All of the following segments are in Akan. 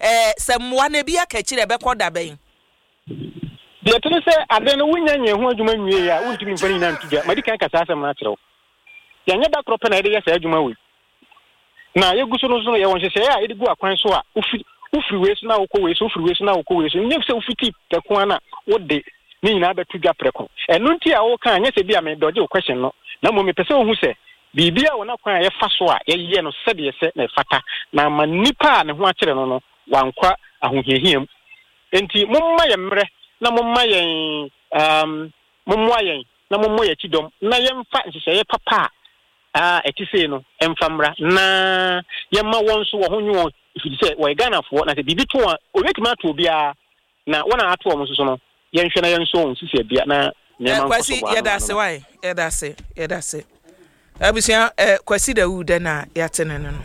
Ɛɛ, sɛ mmoa no ebi aka akyiri a, ɛbɛkɔ da bɛn? Deɛ ɛte ne sɛ, ade no wonnya nyɛɛ ho adwuma nwieeɛ a, wontumi mfa ne nyinaa nto dwa. Madi kan aka saa asɛm no akyerɛ wo. Yɛnyɛ da korɔ pɛ na yɛde yɛ saa adwuma wei. Na yɛgu so no nso no, yɛwɔ nhyehyɛeɛ a yɛde gu akwan so a wofi wofiri wei so na wokɔ wei so, wofiri wei so na wokɔ wei so. Nyɛ sɛ wofiti prɛko ara na wode ne nyinaa bɛto dwa prɛko. Ɛno nti a woka a, nyɛ sɛ bi a medɔgye wo question no, na mmom mepɛ sɛ wohu sɛ biribiara wɔ n'akwan a yɛfa so a yɛyɛ no sɛdeɛ ɛsɛ na ɛfata, na ama nnipa a ne ho akyere no no wankɔ ahohiahia mu. Enti momma yɛn mmerɛ na momma yɛn um, mommoa yɛn na mommɔ yɛn akyi dɔm na yɛmfa nhyehyɛeɛ papa a ɛte sei no mfa mmra na yɛmma wɔn nso wɔn ho nwe wɔn ɛfiri sɛ wɔyɛ Ghanafoɔ na sɛ biribi to wɔn a wɔbɛtumi ato obiara na wɔn a ato wɔn nso so no yɛnhwɛ na yɛnsɔ wɔn sisi abia na nneɛma nkɔ so Kwasi bɔ ano yɛda ano ase no. wae yɛda ase yɛda ase abusua eh, Kwasi Dawu dɛ na yɛate ne no no.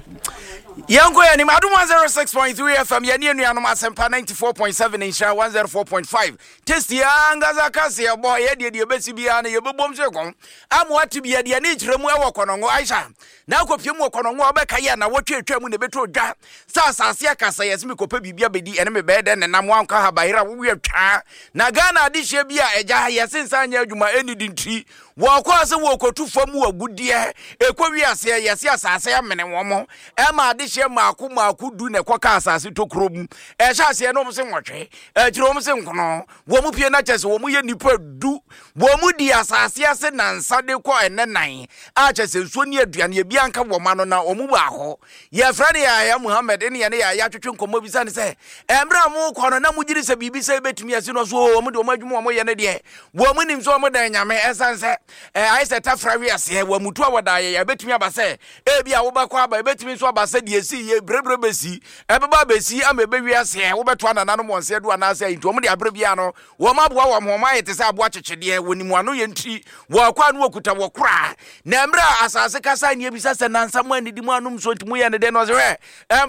Yɛnkɔ yɛn anim. Adom 106.3 FM, yɛne anuanom Asɛmpa 94.7, Nhyira 104.5. Tasty ankasa kaseɛbɔ, yɛ deɛ deɛ ɛbɛsi biara no yɛbɛbom so kɔn. Ama wate bi yɛde ani kyerɛ mu ɛwɔ Kɔnɔngo. Aisha, na akɔpie mu wɔ Kɔnɔngo a wobɛka yɛ na wɔtwe atwa mu na ɛbɛtɔ dwa. Sɛ asase aka sɛ yɛse mekɔpɛ biribi abɛdi ɛne mebɛyɛ dɛn nenam wankɔ ahabayera wowe atwaa. Na Ghana adehyeɛ bi a agya yɛse nsa nyɛ adwuma ɛnnidi nti Wɔkɔɔ sɛ wɔrekɔtu fam agudeɛ. Ɛkɔwie aseɛ, yɛse asase amene wɔn. Ɛma adehyeɛ mmaako mmaako du na ɛkɔka asase tokuro mu. Ɛhyɛ aseɛ no wɔn se nwɔtwe, akyire wɔn se nkono. Wɔn pie no kyɛ sɛ wɔn yɛ nnipa du. Wɔn di asase ase nansa de kɔ ɛnɛ nan a kyɛ sɛ nsuo ne aduane ebi anka wɔn ano na wɔn baako Yɛfrɛ no Yahya Muhammad ne yɛne Yahya twetwe nkɔmmɔ bisa no sɛ, Mmerɛ a mokɔ no na mogyedi sɛ biribi sɛi bɛtumi asi no? Ɔse, Oo, wɔn deɛ wɔn adwuma a wɔyɛ no deɛ, wɔn nim sɛ wɔn dan Nyame, ɛsiane sɛ eh, ayɛ sɛ tafra wiaseɛ, wɔn mutu a wɔda ayɛ, ɛbɛtumi aba sɛ ebi a wobɛkɔ aba, ɛbɛtumi nso aba sɛ deɛ ɛsii yɛ berɛberɛ bɛsi, ɛbɛba abɛsi ama ɛbɛwi aseɛ, wobɛto anananom wɔn nsa adu anaasɛ nti wɔn de aberɛ biara no Wɔn aboa wɔn ho, wɔayɛ te sɛ aboa kyekyedeɛ, wɔnim wɔn ano yɛ nti, wɔkɔ a na wɔkuta wɔ koraa. Na mmerɛ a asase kasae ne abisa sɛ, Nansa mo annidi mo annom nsuo nti moyɛ no dɛn? Na ɔse, Hwɛ,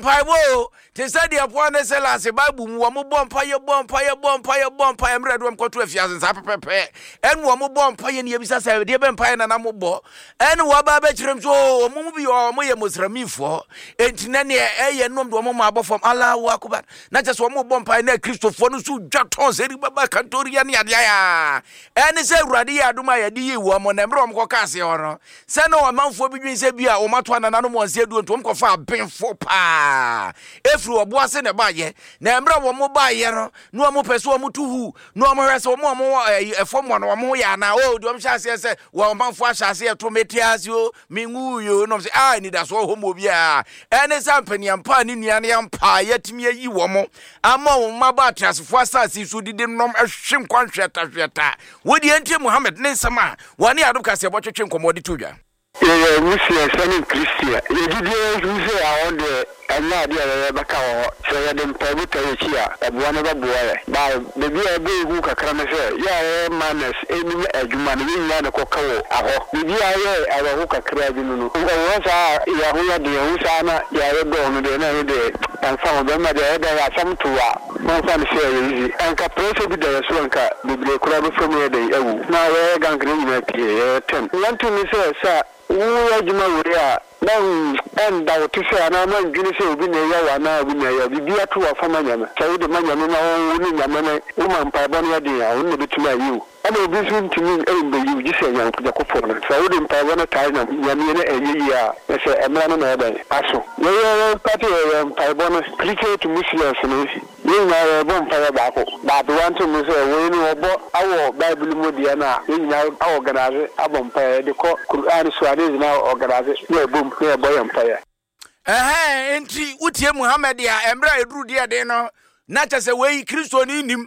mpaebɔ o, te sɛ deɛ Paul ne Silas Bible mu wɔn bɔ mpaeɛ, bɔ mpaeɛ, bɔ mpaeɛ, bɔ mpaeɛ, mmerɛ de wɔn kɔto afiase saa pɛpɛpɛ, ɛne wɔn bɔ mpaeɛ ne abisa sɛ, deɛ bɛ mpaeɛ na na mobɔ? Ɛne wɔaba abɛkyerɛ m so, wɔn mu bi wɔ wɔn yɛ Musramifoɔ, enti na neɛ ɛyɛ nom de wɔn ma abɔ fam, Allahu Akbar. Na kyɛ sɛ wɔn bɔ mpae na Kristofoɔ no nso dwa tɔn sɛ baba kantoria ne adeɛ a ɛne sɛ Awurade yɛ adom a yɛde yii wɔn na mmerɛ wɔn kɔka aseɛ hɔ no sɛ na ɔmanfoɔ bi dwen sɛ bi a wɔn ato anananom wɔn nsa aduo nti wɔn kɔfa abenfo paa ɛfiri ɔbo ase na ɛbaayɛ na mmerɛ wɔn baayɛ no na wɔn pɛ sɛ wɔn to hu na wɔn hwɛ sɛ wɔn a wɔn wɔ ɛfam hɔ no wɔn ho yɛ anaa o deɛ wɔn hyɛ aseɛ sɛ wɔn ɔmanfoɔ ahyɛ aseɛ to mete ase o Menwui o, na ɔm sɛ, ah, anidasoɔ wɔ hɔ ma obiara. Ɛne sɛ ampaniampa a ne nua no ampa a yɛatumi ayi wɔn ama wɔn mma aba ateasefoɔ asase so didi nom hwe nkwa nhweatahweata. Wo deɛ ntie Muhammad ne nsɛm a wɔne Adom Kaseɛbɔ twetwe nkɔmmɔ de to dwa. Yɛyɛ Muslims ne Christian. Yɛ gyidie hu sɛ ahɔ deɛ ɛnyɛ adeɛ a yɛyɛ bɛka wɔ hɔ. Sɛ yɛde mpaebɔ taa yɛn akyi a, ɛboa no bɛboa yɛn. But baabi a ɛbɔ yɛn hu kakra ne sɛ, yɛ a yɛyɛ miners nnim adwuma no, yɛn nyinaa na ɛkɔka wɔ ahɔ. Biribi a ayɛ awerɛho kakra bi no no, ɛwɔ hɔ saa a yɛn ho yɛ den, ɛho saa na yɛayɛ dɔɔ no deɛ na ɛno deɛ ɛmfa ho. Bɛrima deɛ ɛyɛ dɛn asɛm to wo a, momfa no sɛ ɛyɛ easy. Anka pressure bi da yɛn so a anka bebree koraa bɛfa mu ayɛ dɛn awu. Na yɛyɛ gang no nyinaa pie, yɛyɛ ten. Nea nti ne sɛ, sɛ woyɛ adwuma wei a, Na ɛnda wo te sɛ anaa ma ndwene sɛ obi na ɛya wo anaa obi na ɛya wo. Biribi ato wo afa ma Nyame. Sɛ wode ma Nyame na wo ne Nyame no wo ma mpaebɔ no yɛ den a, ɔno na obetumi ayi wo. Ɛna obi nso ntumi mbeyi wo gye sɛ Nyankopɔn no. Sɛ wode mpaebɔ no taa Nyame na ɛnyɛ yie a, na sɛ ɛmra no na ɛyɛ dɛn? Aso. Yɛyɛ yɛn starte yɛyɛ mpaebɔ no Christian to Muslims no. Yɛn nyinaa yɛrebɔ mpaeɛ baako. But wanto mu sɛ wei no wɔbɔ awɔ bible mu deɛ no a yɛn nyinaa aorganise abɔ mpaeɛ yɛde kɔ Qur'an so a ne yɛn nyinaa organise na yɛbom na yɛbɔ yɛn mpaeɛ. Ɛhɛɛ, enti wotie Muhammad a, mmerɛ a ɛduru deɛ den no, na kyɛ sɛ wei Kristoni nnim,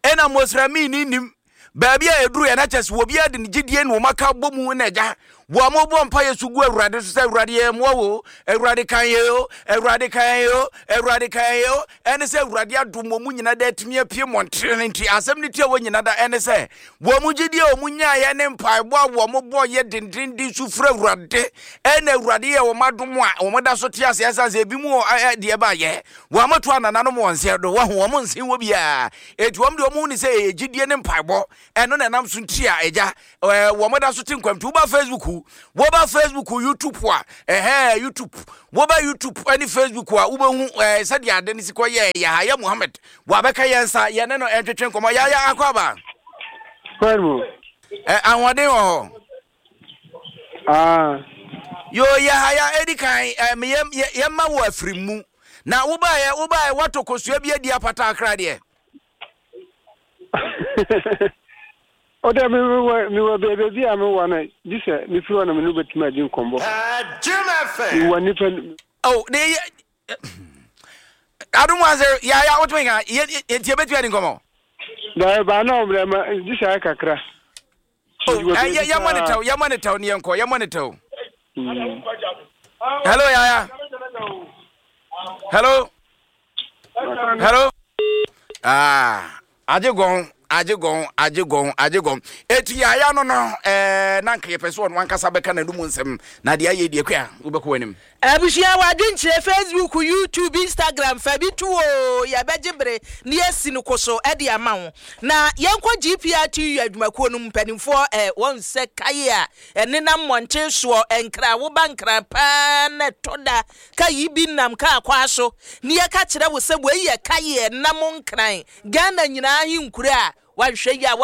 ɛna Mosremini nnim, Baabi a ɛduru yɛ na kyɛ sɛ obiara de ne gyidie ne wɔn aka bɔ mu na agya wɔn bɔ mpaeɛ so gu Awurade so sɛ Awurade yɛ mmoa wo, Awurade kan yɛ o, Awurade kan yɛ o, Awurade kan yɛ o. Ɛne sɛ Awurade adom wɔn mu nyina da atumi apue mmɔntene no nti asɛm no tia wɔn nyina da ɛne sɛ wɔn mu gyidie a wɔn nyaeɛ ne mpaebɔ a wɔn bɔ yɛ dendenden su frɛ Awurade ɛna Awurade yɛ wɔn adom a wɔn da so te ase ɛsan sɛ ebi mu deɛ baayɛ wɔn ato anananom wɔn nsɛ do wɔho wɔn nsen wɔ biara Enti wɔn deɛ wɔn hu ne sɛ ɛyɛ gyidie ne mpaebɔ ɛno na ɛnam so nti a agya ɛɛ wɔn da so te nkwa nti woba Facebook Dawu. Woba Facebook, YouTube a, ɛhɛɛ, YouTube. Woba YouTube ne Facebook a, wobɛhu ɛɛ sɛdeɛ ade no si kɔ yɛ Yahaya Muhammad. Wabɛka yɛn nsa, yɛne no ɛntwetwe nkɔmmɔ. Yahaya akɔ aba. Kwan mu. Ɛ ahoɔden wɔ hɔ. Ah. Yo Yahaya edi kan ɛ meyɛ yɛma wo afiri mu. Na wobaeɛ wobaeɛ woatɔ kosua bi adi apata akra deɛ. O dɛ me mewɔ mewɔ beebi a mewɔ no gye sɛ mefiri hɔ na me ne wo bɛtumi adi nkɔmmɔ. Mewɔ nnipa no. Oh, de yɛ adum wa sɛ ya ya wotumi ka yɛ nti yɛbɛtumi adi nkɔmmɔ. Daabi baa na ɔmmerɛ ma gye sɛ ayɛ kakra. Oh, yɛ yɛmmɔ ne tɛw yɛmmɔ ne tɛw ne yɛnkɔ yɛmmɔ ne tɛw. Hello yaya. Hello. Hello. Ah, agye gɔn, agye gɔn, agye gɔn, agye gɔn. Eti yaya no no, eh, na nka yɛpɛ sɛ ɔno ankasa bɛka n'anum nsɛm na deɛ ayɛ deɛ kua wobɛkɔ w'anim. Abusua w'adwenkyerɛ Facebook, YouTube, Instagram fa bi to oo yɛbɛgye bere na yɛasi no koso de ama wo. Na yɛnkɔ GPRTU adwumakuo no mu mpanimfoɔ eh, wɔn sɛ kae a ɛnenam mmɔnten soɔ nkra woba nkran paa na ɛtɔ da Ka yi bi nam kaa kwaa so ne yɛka kyerɛ wo sɛ wei yɛ kaeɛ nam nkran Ghana nyinaa ahenkuro a wanhwɛ yie a.